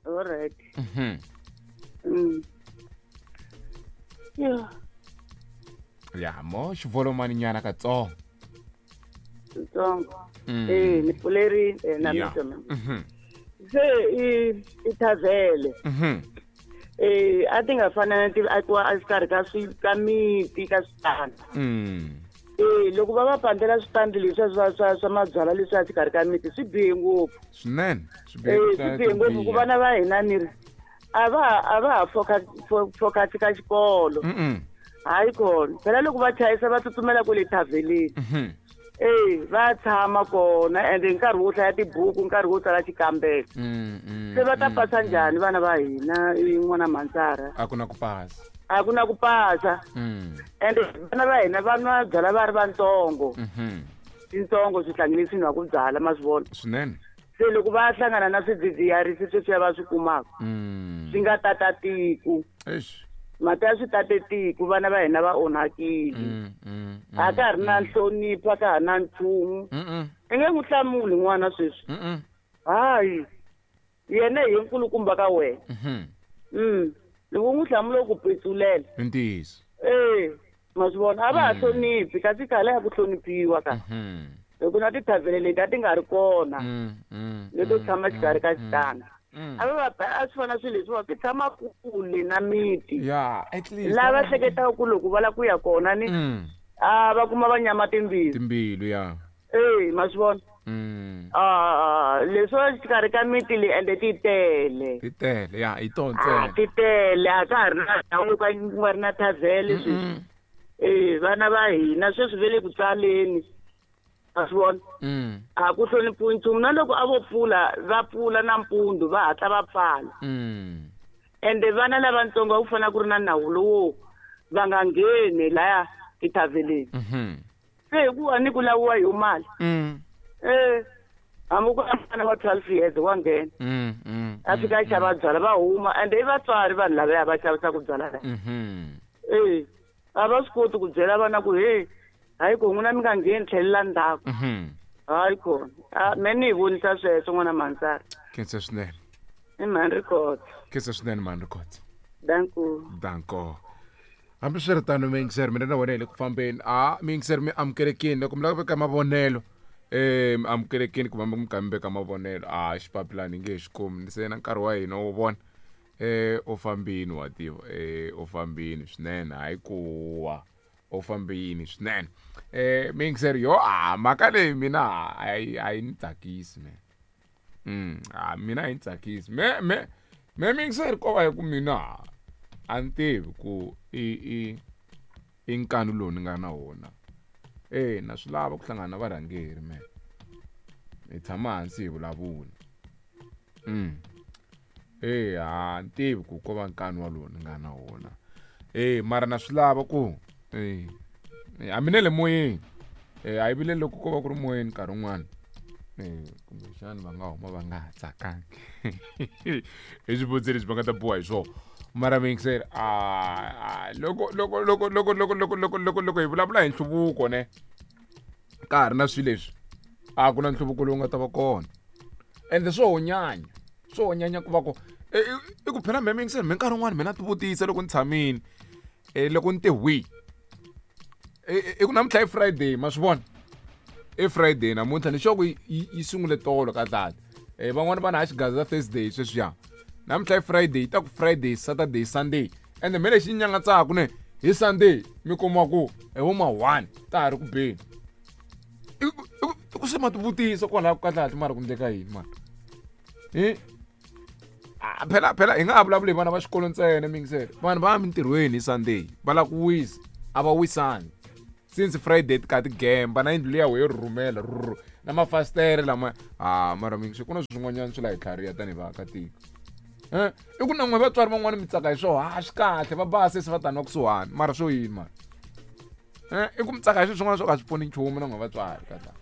Alright. Yeah. Ya mo xivolomani nyana katsongo. Tsongo. Eh, ni pfulerile na mina. Se i i thavhele. Eh, a ti nga fana na ti akiwa exikarhi ka swi ka miti ka switanda. Eh, loko va va pandela switandi leswiya swa mabyalwa leswiya exikarhi ka miti swi bihe ngopfu. Swinene. Swi bihe Eh, swi bihe ngopfu ku vana va hina ni ri a va ha focus ka xikolo. Hayi kona. Phela loko va chayisa va tsutsumela kwale thavheleni. Eh, va tshama kona ende nkarhi wo hlaya tibuku, nkarhi wo tsala xikambelo. Se va ta pasa njhani vana va hina n'wana Mhansara? A ku na ku pasa. A ku na ku pasa. Ende vana va hina va nwa byala va ri vantsongo. Tintsongo swihlangi leswi nwaka byala ma swi vona. Swinene. Se loko va hlangana na swidzidziharisi sweswiya va swi kumaka swi nga tata tiko. Eish. Mhaka ya swi tate tiko, vana va hina va onhakile. A ka ha ri na nhlonipho, a ka ha ri na nchumu. I nge n'wi hlamuli n'wana sweswi. Hayi. Yena hi nkulukumba ka wena. Loko u n'wi hlamula u ku petsulela. I ntiyiso. Eh, ma swi vona a va ha hloniphi kasi khale a ku hloniphiwa ka. Hi ku na tithavhele leti a ti nga ri kona. Leto tshama xikarhi ka xitanda. A va va a swi fana swilo leswiwa swi tshama kule na miti. Yeah, at least. Lava hleketaka ku loko va lava ku ya kona ni a va kuma va nyama timbilu. Timbilu ya. Eh, ma swi vona. Ah, leswiwa xikarhi ka miti leyi ende ti tele. Ti tele, ya, hi tona Ah, ntsena. ti tele a ka ha ri na ndhawu yo ka ku nga ri na thavhele sweswi. Eh, vana va hina sweswi va le ku tsaleni. Ma swi vona? A ku hloniphiwi nchumu na loko a vo pfula va pfula nampundzu va hatla va pfala. Ende vana lavatsongo a ku fanele ku ri na nawu lowo va nga ngheni laya tithavheleni. Se hikuva ni ku laviwa hi mali. Eh, hambi ku ri n'wana wa 12 years wa nghena. A fika a xava byala va huma ende i vatswari vanhu lavaya va xavisaka byala laya. Eh, a va swi koti ku byela vana ku hey, hayi ko n'wina mi nga ngheni tlhelela ndzhaku. Hayi kona. Ah, me ni hi vonisa sweswo n'wana Mhansara. Khensa swinene. I mhani Rikhotso. Khensa swinene mhani Rikhotso. Danko. Danko. Hambiswiritano miyingiseri mina na wena hi le ku fambeni. A miyingiseri mi amukelekini loko mi lava ku veka mavonelo. Mi amukelekini ku va mi kha mi veka mavonelo. A xipapilani nge he xi kumi se na nkarhi wa hina wo vona. U fambini wa tiva. U fambini swinene hayi ku wa. U fambini swinene. Miyingiseri yo a mhaka leyi mina a yi ni tsakisi me. A mina a yi ni tsakisi. Me miyingiseri ko va hi ku mina a ni tivi ku i nkanu lowu ni nga na wona. Eh, na swi lava ku hlangana na varhangeri me. Hi tshama hansi hi vulavula. Eh, a ni tivi ku ko va nkanu walowu ni nga na wona. Eh, mara na swi lava ku eh a mi ne le moyeni. Eh, a yi vileli loko ko va ku ri moyeni nkarhi wun'wana. Eh, kumbexani va nga huma va nga ha tsakangi. Hi swivutiso leswi va nga ta biwa hi swona. Mara miyingiseri, a loko loko loko loko loko loko loko loko loko hi vulavula hi nhluvuko ne ka ha ri na swilo leswi a ku na nhluvuko lowu nga ta va kona. Ende swo honyanya, swo honyanya ku va ku i ku phela me miyingiseri me nkarhi wun'wani mina ti vutisa loko ni tshamile, loko ni te hwi. I ku namuntlha i Friday ma swi vona? I Friday namuntlha ni sure ku yi sungule tolo ka dlala. Van'wani va na ha xigaza Thursday sweswiya. Namuntlha i Friday, yi ta ku Friday, Saturday, Sunday. Ende me lexi nyangatsaka ne hi Sunday mi kuma ku hi vo ma 1 ta ha ri ku beni. I ku se ma tivutisa kwalaho ka dlala mara ku endleka yini mara? Phela phela hi nga ha vulavuli hi vana va xikolo ntsena miyingiseri. Vanhu va ya mintirhweni hi Sunday va lava ku wisa, a va wisani. Since Friday ti kha ti gemba na yindlu liya yo rhurhumela rhurhu na mafasitere lama ha mara miyingiseri ku na swin'wanyana swi la hi tlhariha tanihi vaakatiko. I ku na n'we vatswari van'wani mi tsaka hi swona, ha swi kahle va ba sesi va tani va kusuhani mara swo yini mara? I ku mi tsaka hi swilo swin'wana swo ka swi pfuni nchumu na n'we vatswari ka tani.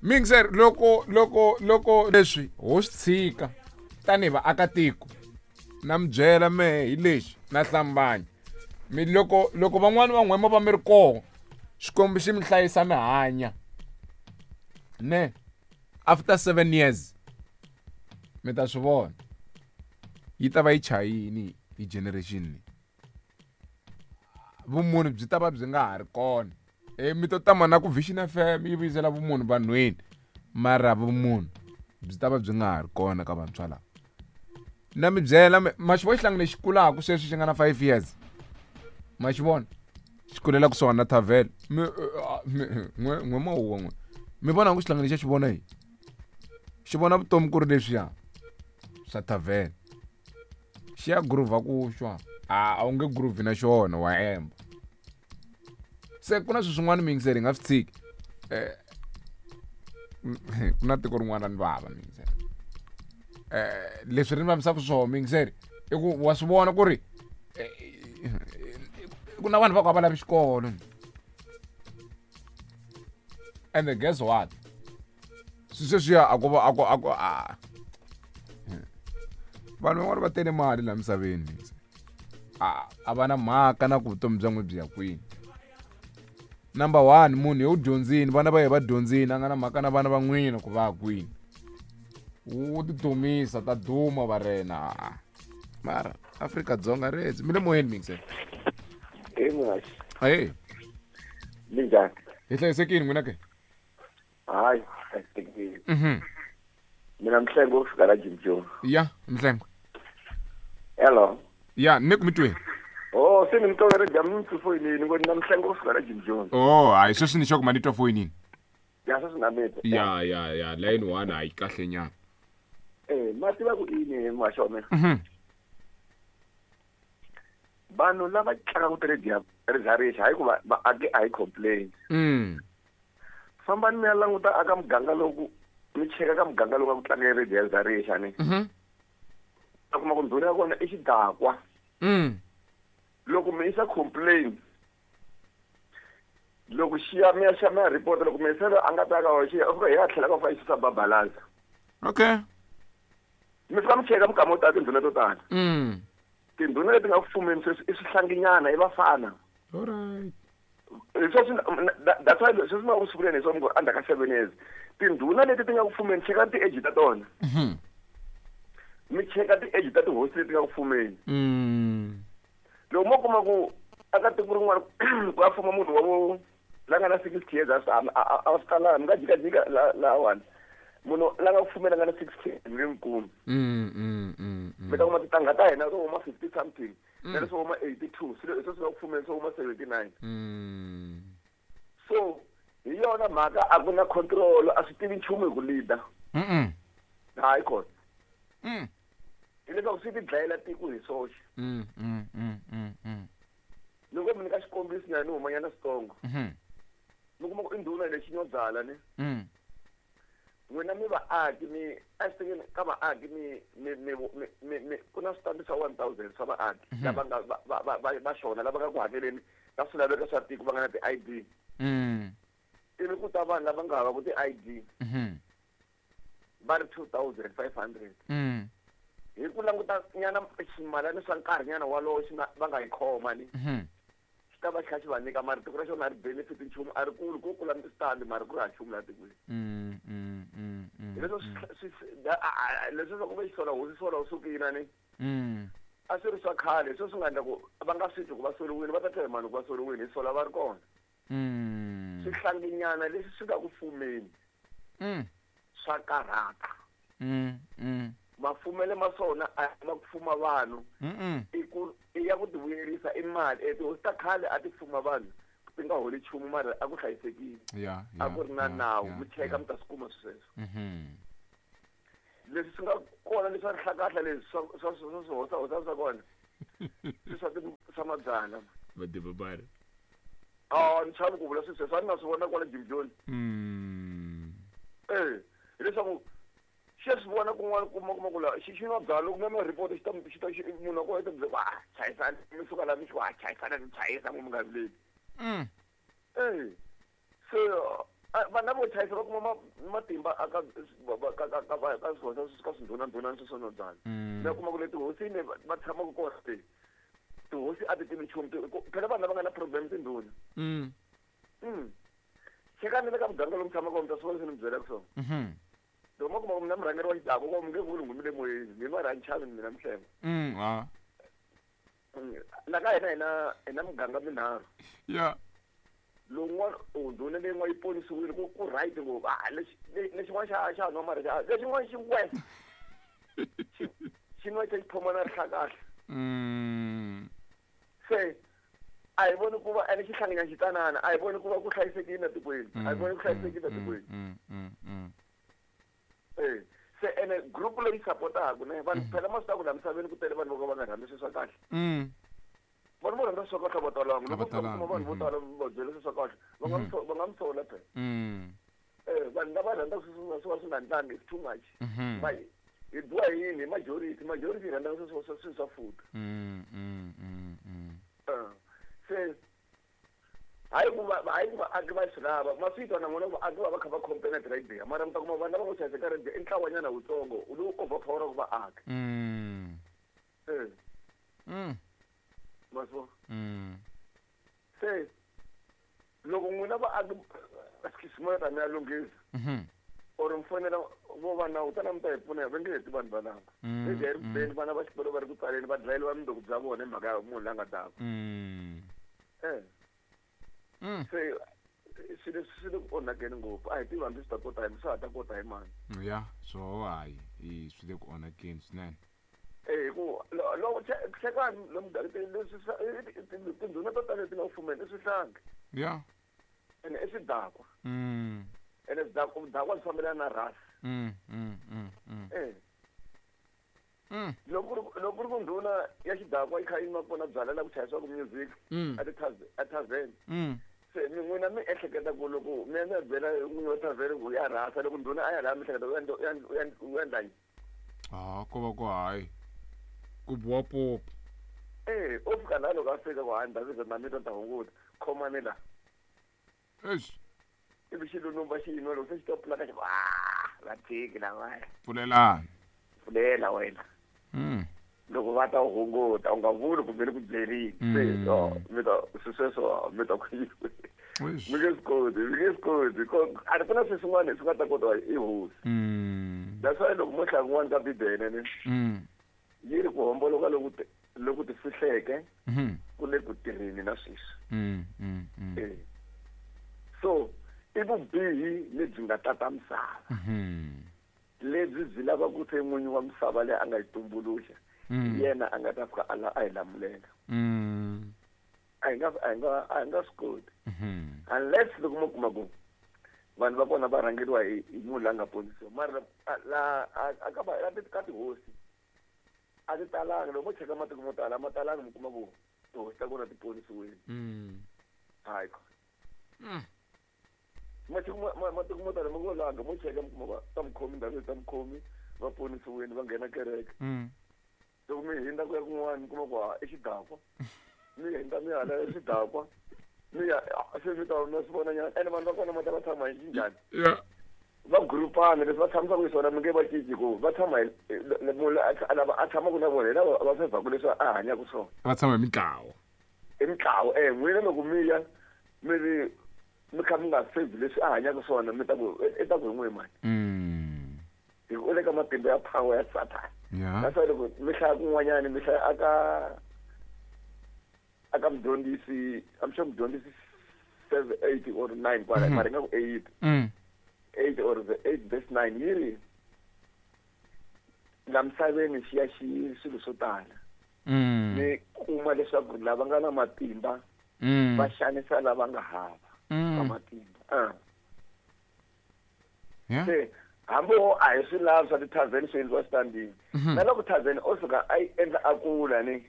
Mixer loko loko loko leswi ho swi tshika tanihi vaakatiko na mi byela mehe hi lexi na hlambanya. Mi loko loko van'wani va n'wema va mi ri koho, Xikwembu xi mi hlayisa mi hanya. Ne after 7 years mi ta swi vona yi ta va yi chayini hi generation leyi. Vumunhu byi ta va byi nga ha ri kona. Mi to tama na ku Vision FM yi vuyisela vumunhu vanhwini, mara vumunhu byi ta va byi nga ha ri kona ka vantshwa lava. Na mi byela ma xi vona xihlangi lexi kulaka sweswi xi nga na 5 years, ma xi vona xi kulela kusuhani na thavhele. Mi n'we mawuwa n'we mi vona ku xihlangi lexi xi vona yini? Xi vona vutomi ku ri leswiya swa thavhele, xi ya groove ku xwa a wu nge groove na xona, wa hemba. Se ku na swilo swin'wana miyingiseri hi nga swi tshiki. Ku na tiko rin'wana ra ni vava miyingiseri. Leswi ri ni vavisaka swona miyingiseri i ku wa swi vona ku ri ku na vanhu va ku a va lavi xikolo. And guess what? Swi sweswiya a ku va a ku a ku a vanhu van'wana va tele mali laha misaveni. A va na mhaka na ku vutomi bya n'we byi ya kwini. Number 1, munhu yo dyondzini, vana va yena va dyondzini, a nga na mhaka na vana va n'wina ku va ya kwini. Wu ti dumisa, ta duma va rena. Mara Afrika-Dzonga rezi. Mi le moyeni mixer. Hey, Muhaxi. Hey. Minjhani? Hi hlayisekile n'wina ke? Hayi, hlayisekile. Mina Mhlengo wo fika la Jim Jones. Ya, Mhlengo. Hello. Ya, ni ku mi tweni. Oh, se ni mi twa ri jamu mi foyinini, ngo ni na Mhlengo wo fika la Jim Jones. Oh, hayi sweswi ni xo ku ma ni twa foyinini. Ya, sweswi na mi twa. Ya, ya, ya, line 1 hayi kahle nyana. Ma tiva ku yini muhaxi wa mina? Vanhu lava tlangaka ti-radio rizarixa, hayi ku vaaki a hi complain. Fambani mi ya languta aka muganga loku, mi cheka ka muganga lowu nga ku tlanga radio ya rizarixa ni. Ta kuma ku ndhuna ya kona i xidakwa. Loko mi yisa complain, loko xi ya mi ya xa mi ya report, loko mi yisa a nga ta ka xi ya, u fika hi ya tlhela ka fa xi sa babalaza. Okay. Mi fika mi cheka mikama yo tala tindhuna to tala. Tindhuna leti nga ku fumeni sweswi i swihlanginyana, i vafana. All right. Sweswi that's why sweswi ni nga ku sunguleni hi swona ku endzhaku ka 7 years. Tindhuna leti ti nga ku fumeni, cheka ti-age ta tona. Mi cheka ti-age ta tihosi leti nga ku fumeni. Loko mo kuma ku aka tiko rin'wana ku ya fuma munhu wa vo la nga na 60 years, a swi talanga, mi nga jikajika lahawani. Munhu la nga ku fumeni a nga na 60 years mi nge n'wi kumi. Mi ta kuma tintangha ta hina to huma 50 something, na leswo huma 82, swilo leswi swi nga ku fumeni swo huma 79. So hi yona mhaka a ku na control, a swi tivi nchumu hi ku leader. Hayi kona. Hileswaku swi ti dlayela tiko hi swoxe. Loko mi nyika xikombiso nyana ni humanyana switsongo. Mi kuma ku i ndhuna lexi nyo byala ni. N'wina mi vaaki mi a swi tekeni ka vaaki mi mi mi mi mi mi ku na switandi swa 1000 swa vaaki lava nga va va va va va xona lava nga ku hakeleni ka swilaveko swa tiko va nga na ti-I D. Ivi ku ta vanhu lava nga havaku ti-I D. Va ri 2500. Hi ku languta nyana ximalani swa nkarhi nyana walowo xi nga va nga yi khoma ni. Xi ta va xi kha xi va nyika mara tiko ra xona a ri benefit nchumu, a ri kuli, ko kula switandi mara ku ri ha nchumu laha tikweni. Hi leswo swi leswi swa ku ve xisola hosi sola u sukile ni. A swi ri swa khale, hi swona swi nga endla ku va nga swi twi ku va soriwile, va ta twa hi mani ku va soriwile, hi sola va ri kona. Swihlanginyana leswi swi nga ku fumeni. Swa karhata. Mafumele ma swona a ma ku fuma vanhu. I ku i ya ku tivuyerisa i mali. Tihosi ta khale a ti fuma vanhu ti nga holi nchumu mara a ku hlayisekile. A ku ri na nawu, mi cheka mi ta swi kuma sweswo. Leswi swi nga kona leswi swa rihlakahla leswi swa swa swa swi hosa hosa swa kona. Swi swa swa mabyala. Vadebabari. Ah, ni chavi ku vula sweswo, sweswo a ni nga swi vona kwala Jim Jones. Hileswaku xi ya swi vona kun'wana kuma kuma ku la xi xi nwa byala loko mi ya report xi ta xi ta xi munhu wa kona i ta byela ku ah chayisani mi suka la mi xi ku ah chayisana mi chayisa n'wi mi nga vileli. Se vanhu lavo chayisa va kuma matimba aka ka ka ka ka swihosa ka swindhunandhunani sweswo nwa byala. Mi ya kuma ku le tihosini va tshamaka kona le. Tihosi a ti tivi nchumu, phela vanhu lava nga na problem tindhuna. Chekani le ka muganga lomu tshamaka mi ta swi vona leswi ni mi byelaka swona. Loko ma kuma ku mi na murhangeri wa xidakwa ko mi nge vuli ngumi le moyeni, mi mara a ni chavi mina Mhlengwe. La ka hina hi na muganga minharhu. Lowun'wana ndhuna leyin'wana yi ponisiwile ku right ngopfu. Lexin'wana xa nwa mara xa lexin'wana xi west. Xi nwa xi phoma na rihlakahla. Se a hi voni ku va ene xi hlanganya xitsanana, a hi voni ku va ku hlayisekile etikweni. A hi voni ku hlayisekile etikweni. Se ene group leyi supportaka ne vanhu phela ma swi tiva ku laha misaveni ku tele vanhu vo ka va nga rhandzi swilo swa kahle. Vanhu vo rhandza swilo swa kahle a va talanga. Loko kuma vanhu vo tala va byela swilo swa kahle, va nga va nga mi sola phela. Vanhu lava rhandzaka swilo swo swi nga ndlangi it's too much. Hi biwa hi yini? Hi majority. Majority yi rhandza swilo swa futa. Se hayi ku va vaaki va swi lava ma swi twa na n'wina vaaki va va kha va complain ti-radio, mara mi ta kuma vanhu lava ngo chayisa ka radio i ntlawanyana wutsongo lowu overpoweraka vaaki. Ma swi vona? Se loko n'wina vaaki excuse me ta mi ya lunghisa or mi fonela vo va nawu tana mi ta hi pfuna, va nge heti vanhu valava. Radio yi ri kubeni, vana va xikolo va ri ku tsaleni, va dlayeriwa mundzuku bya vona hi mhaka ya munhu la nga dakwa. Se swilo leswi swi le ku onhakeni ngopfu, a hi tivi hambi swi ta kota hi swa ha ta kota hi mani. Ya swo hayi swi le ku onhakeni swinene. Hi ku loko hlekani lomu leswi tindhuna to tala leti nga ku fumeni i swihlangi. Ene i swidakwa. Ene vudakwa byi fambelana na rhasi. Loko ku ri ku ndhuna ya xidakwa yi kha yi nwa kona byala la ku chayisiwaka music a tavern. Se mi n'wina mi ehleketa ku loko mi ya mi ya byela n'winyi wa tavern ku ya rhasa, loko ndhuna a ya laha mi ehleketa u endla yini? Ko va ku hayi ku biwa popo. U fika laha loko a fika ku hayi ndhawu na mi ta hunguta, khomani la. Eish. Ivi xilunumba xi yinwa loko se xi ta pfula ka xi ku, va tshiki lavaya. Pfulelani. Pfulela wena. Loko va ta hunguta u nga vuli kumbe ni ku byerile. Se mi ta sweswo mi ta ku mi nge swi koti, mi nge swi koti. A ri ku na swilo swin'wana swi nga ta kota i hosi. That's why loko mo hlaya kun'wana ka Bibele ne yi ri ku homboloka loku ti fihleke ku le ku tirheni na sweswi. So i vubihi lebyi nga tata misava. Lebyi byi lava ku se n'winyi wa misava leyi a nga yi tumbuluxa, yena a nga ta fika a hi lamulela. A hi nga swi koti. Unless loko mo kuma ku vanhu va kona va rhangeriwa hi munhu la nga ponisiwa. Mara la a ka va ka tihosi a ti talanga. Loko mo cheka matiko mo tala, ma talanga mi kuma ku tihosi ta kona ti ponisiwile. Hayi. Matiko mo tala mi ngo langa mo cheka mi kuma va ta mukhomi ndhawu ta mukhomi va ponisiwile va nghena kereke. Loko mi hindza ku ya kun'wana mi kuma ku i xidakwa. Mi hindza mi hala i xidakwa. Mi ya se mi ta mi swi vona nyana. Ene vanhu va kona ma ta va tshama hi xinjhani? Va groupana leswi va tshamisaka hi swona mi nge va cinci ku va tshama hi munhu lava a tshamaka na vona hi lava va fevhaku leswi a hanyaka swona. Va tshama hi mitlawa. Hi mitlawa, n'wina loko mi ya mi ri mi kha mi nga fevhi leswi a hanyaka swona mi ta ku i ta ku hi n'wi mani. Hi ku u le ka matimba ya power ya Satan. That's why loko mi hlaya kun'wanyana mi hlaya aka mudyondzisi, I'm sure mudyondzisi 7, 8 or 9 kwala, mara ingaku 8. 8 or the 8 verse 9 yi ri la misaveni xi ya xi swilo swo tala. Mi kuma leswaku lava nga na matimba va xanisa lava nga hava ka matimba. Se hambi wo a hi swi lavi swa ti-tavern swi endliwa xitandini. Na loko tavern o suka a yi endla a kula ni.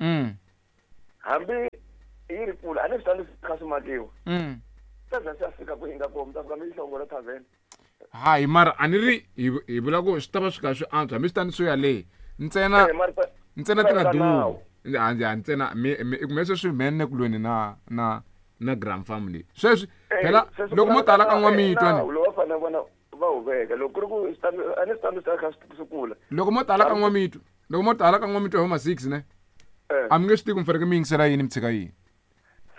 Hambi yi ri kula a ni switandi swi kha swi makiwa. Tavern swi ya fika kwihi nga kona, mi ta fika mi yi hlongola tavern. Hayi mara a ni ri hi vula ku swi ta va swi kha swi antswa hambi switandi swo ya le. Ntsena ntsena ti nga dumi. Ntsena kumbe sweswi mhe ni ku lweni na Grand Family. Sweswi phela loko mo tala ka n'wamitwa ni. Loko va fanele vona va wu veka loko ku ri ku a ni switandi swi ta kha swi kula. Loko mo tala ka n'wamitwa, loko mo tala ka n'wamitwa hi ma 6 ne. A mi nge swi tivi ku mi fanekele mi yingisela yini mi tshika yini.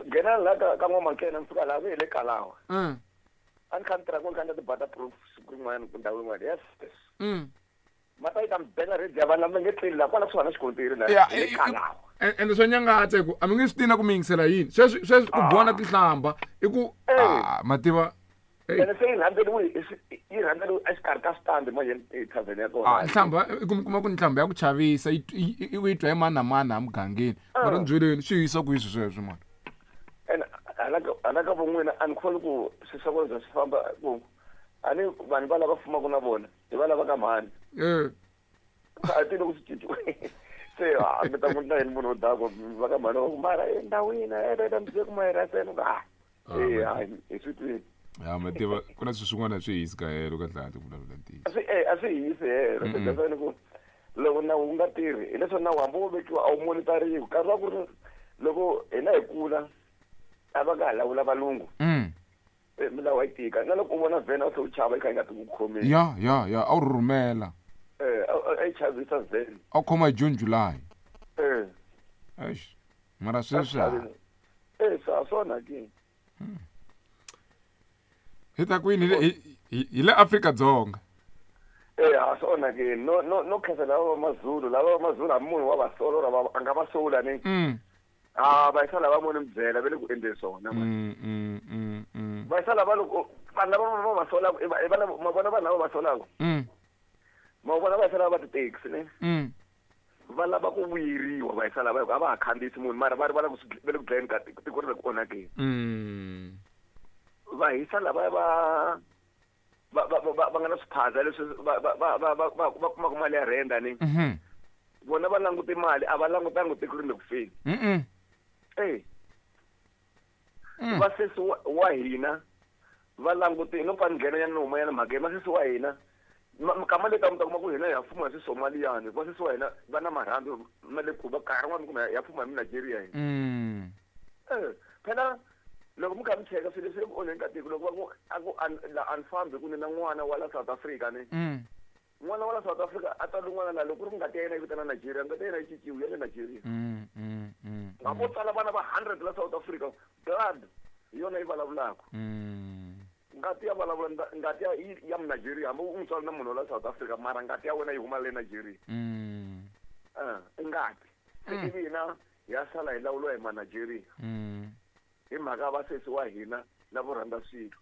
Nghena la ka n'wamankena mi fika laha mi hi le kalawa. A ni kha ni tirha ku ni kha ni ti-butter proof siku rin'wanyana ku ndhawu yin'wana. Yes. Ma ta yi ta mi bela radio ya vanhu lava nge tleli laha kwala kusuhana na xikontiri laha. Ya, Hi le Kalawa. Ende swa nyangatsa hi ku a mi nge swi tivi na ku mi yingisela yini. Sweswi ku biwa na tinhlamba i ku ma tiva. Ene se yi rhandzeriwe yi rhandzeriwe exikarhi ka switandi manje tavern ya kona. Nhlamba i ku mi kuma ku nhlamba ya ku chavisa yi yi twa hi mani na mani a mugangeni. Mara ni byeleni swi yisa kwihi swilo sweswo mani? Ene hala ka von'wina a ni kholwi ku swi swa kona swi famba ku a ni vanhu va lava fumaka na vona hi va lava ka mhani. A ti loko swi cinciwe se a mi ta n'wi endla yini munhu wo dakwa va ka mhani va ku mara endhawini e mi ku ma seno ka e hayi hi swi twini. Ya ma tiva ku na swilo swin'wana swi hisi ka helo ka dlaya ti vulavula ntiyiso. A swi hisi helo se ku loko nawu wu nga tirhi hileswo nawu hambi wo vekiwa a wu monitariwi nkarhi wa ku ri loko hina hi kula a va nga ha lawula valungu. Milawu a yi tika na loko u vona vhene a wu tlhe u chava yi kha yi nga ti ku khomeni. Ya ya ya a wu rhurhumela. A yi chavisa vhene. A wu khoma hi June July. Eish mara sweswi swa swona ke. Hi ta kwini hi le Afrika-Dzonga. A swi onhakeni no no no khensa lava va Mazulu lava va Mazulu hambi munhu wa va sola or a nga va sola ni. Va yisa lava mo ni mi byela va le ku endleni swona mani. Va yisa lava loko vanhu lava va va solaka i va i va ma vona vanhu lava va solaka. Ma vona va yisa lava va ti-taxi ne. Va lava ku vuyeriwa va yisa lava a va ha khandziyisi munhu mara va rivala ku va le ku dlayeni ka tiko ri le ku onhakeni. Va hisa lava va va va va va nga na swiphaza leswi va va va va va va va kumaka mali ya rent ni. Vona va langute mali a va langutanga tiko ri le ku feni. Vasesi wa hina va langute no pfa ni nghena nyana ni huma nyana mhakeni vasesi wa hina mikama leyi ta mi ta kuma ku hina ha fuma hi swisomaliyani vasesi wa hina va na marhambu ma le ku va nkarhi wun'wana mi kuma ya fuma hi Nigeria hina. Phela loko mi kha mi cheka swilo leswi le ku onheni ka tiko loko va ku a ku la a ni fambi ku ni na n'wana wa la South Africa ni. N'wana wa la South Africa a tswala n'wana la loko ku ri ngati ya yena yi vitana Nigeria ngati ya yena yi cinciwi ya le Nigeria. Hambi wo tswala vana va 100 la South Africa blood hi yona yi vulavulaka. Ngati ya vulavula ngati ya ya Nigeria hambi u n'wi tswala na munhu wa la South Africa mara ngati ya wena yi huma le Nigeria. I ngati. Se ivi hina ya sala hi lawuriwa hi ma Nigeria. Hi mhaka vasesi wa hina lavo rhandza swilo.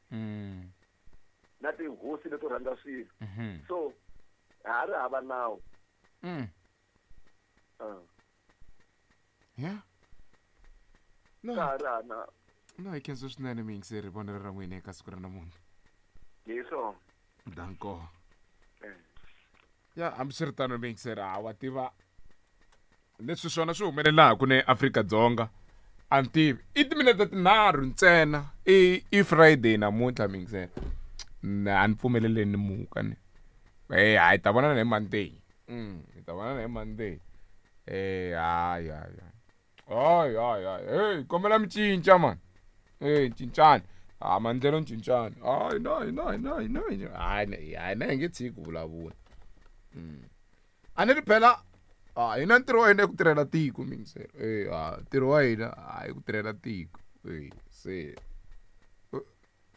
Na tihosi leto rhandza swilo. So ha ri hava nawu. Yeah. No. Ka ha ri hava nawu. No, hi khensa swinene muyingiseri vonelo ra n'wina eka siku ra namuntlha. Hi swona. Danko. Ya hambiswiritano muyingiseri a wa tiva leswi swona swi humelelaka ne Afrika-Dzonga a ni tivi i timinete tinharhu ntsena i Friday namuntlha muyingiseri a ni pfumeleleni ni muka ni hayi ta vonana hi Monday hi ta vonana hi Monday hayi hayi hayi hayi hayi hey kombela mi cinca mani cincani a maendlelo cincani hayi na na na na hayi hayi na hi nge tshiki ku vulavula a ni ri phela a hina ntirho wa hina i ku tirhela tiko mingiselo a ntirho wa hina a i ku tirhela tiko se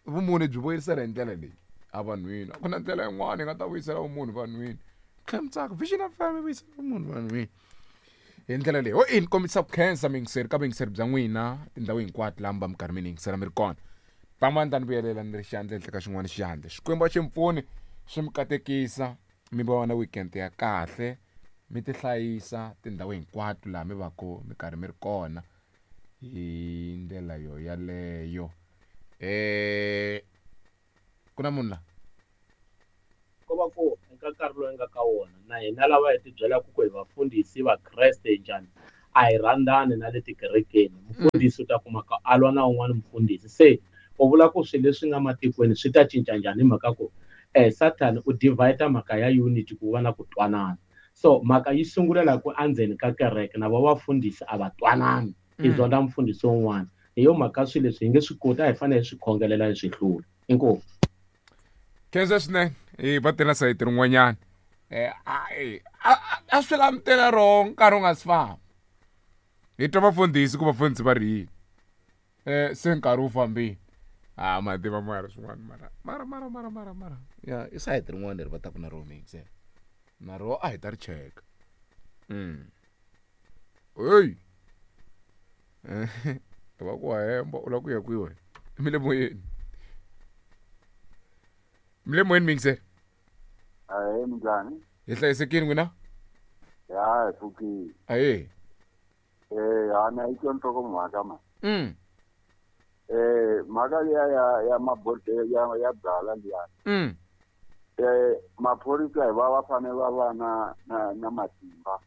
vumunhu byi vuyisela hi ndlela leyi evanhwini a ku na ndlela yin'wana yi nga ta vuyisela vumunhu vanhwini tlhela Vision FM yi vuyisela vumunhu vanhwini hi ndlela leyi ho ini kombisa ku khensa muyingiseri ka vuyingiseri bya n'wina tindhawu hinkwato laha mi va mi karhi mi ni yingisela mi ri kona pamani ta ni vuyelela ni ri xandla henhla ka xin'wana xandla xikwembu a xi mi pfuni swi mi katekisa mi va na weekend ya kahle mi ti hlayisa tindhawu hinkwato laha mi va ku mi karhi mi ri kona hi ndlela yo yaleyo ku na munhu la ko va ku eka nkarhi lowu nga ka wona na hina lava hi tibyelaka ku hi vafundhisi vakreste njhani a hi rhandzani na le tikerekeni mufundhisi u ta kuma ka a lwa na un'wana mufundhisi se u vula ku swilo leswi nga matikweni swi ta cinca njhani hi mhaka ku Satan u divide mhaka ya unity ku va na ku twanana so mhaka yi sungulela ku endzeni ka kereke na va vafundhisi a va twanani i zonda mufundhisi wun'wana hi yo mhaka swilo leswi hi nge swi koti a hi fanele hi swi khongelela hi swi hlula inkomu. Khensa swinene va tela sayiti rin'wanyana a swi la mi tela wrong nkarhi wu nga si famba. Hi twa vafundhisi ku vafundhisi va ri yini. Se nkarhi wu fambile. A ma tiva mara swin'wana mara mara mara mara mara mara. Ya i sayiti rin'wana leri va taku na rona mixer. Na ro a hi ta ri cheka. Hey. Va ku hemba u lava ku ya kwihi wena? Mi le moyeni. Mi le moyeni mixer. Ahee, minjhani? Hi hlayisekile n'wina? Ya, hi pfukile. Ahee. Ha na yi twa nhlokomhaka ma. Mhaka liya ya mabodhlele ya byala liya. Maphorisa hi va va fanele va va na matimba.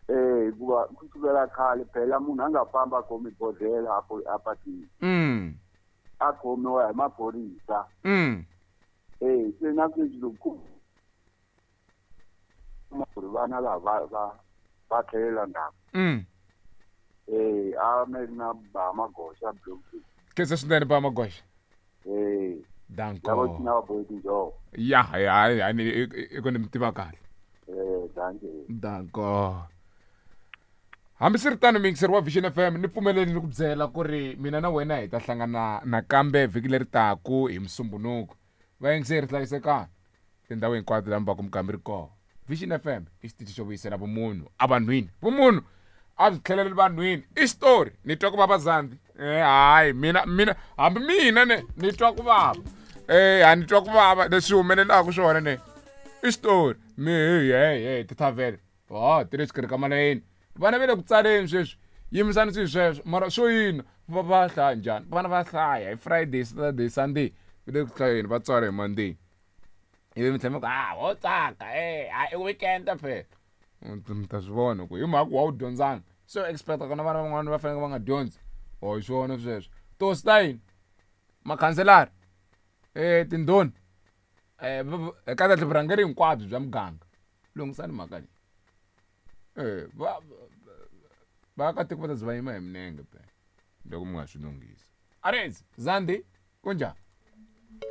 Hikuva ku sukela khale phela munhu a nga famba a khomi bodhlele a patwini. A khomiwa hi maphorisa. Se na sweswi loko ku ri vana lava va tlhelela ndzhaku. A mi ri na ba Magoxa Bloemfontein. Khensa swinene ba Magoxa. Danko. Lavo cina va bohe tinjhovo. Ya, ya, ya, ni i ku ni mi tiva kahle. Danke. Danko. Hambiswiritano muyingiseri wa Vision FM ni pfumeleli ni ku byela ku ri mina na wena hi ta hlangana nakambe vhiki leri taku hi Musumbhunuku. Vayingiseri hlayisekani tindhawu hinkwato laha mi va ku mi kambe ri kona. Vision FM i xitichi xo vuyisela vumunhu evanhwini. Vumunhu a byi tlheleli vanhwini. I xitori ni twa ku vava Zandi. Hayi mina mina hambi mina ne ni twa ku vava. Ha ni twa ku vava leswi humelelaka swona ne. I xitori mi hey hey tithavhele. Oh, ti le xikarhi ka malayeni. Vana va le ku tsaleni sweswi. Yimisani swilo sweswo. Mara swo yini? Va va hlaya njhani? Vana va hlaya hi Friday, Saturday, Sunday. Va le ku hlayeni va tswala hi Monday. Ivi mi tlhela mi ku ha ho tsaka i weekend phela. Mi ta swi vona ku hi mhaka ku wa wu dyondzanga. Se u expect ku na vana van'wana va faneleke va nga dyondzi. Oh hi swona sweswo. Tihosi ta yini? Makhanselara. Tindhuna. Kahle vurhangeri hinkwabyo bya muganga. Lunghisani mhaka leyi. Va vaakatiko va ta ze va yima hi minenge phela loko mi nga swi lunghisi. Arezi, Zandi, kunjhani?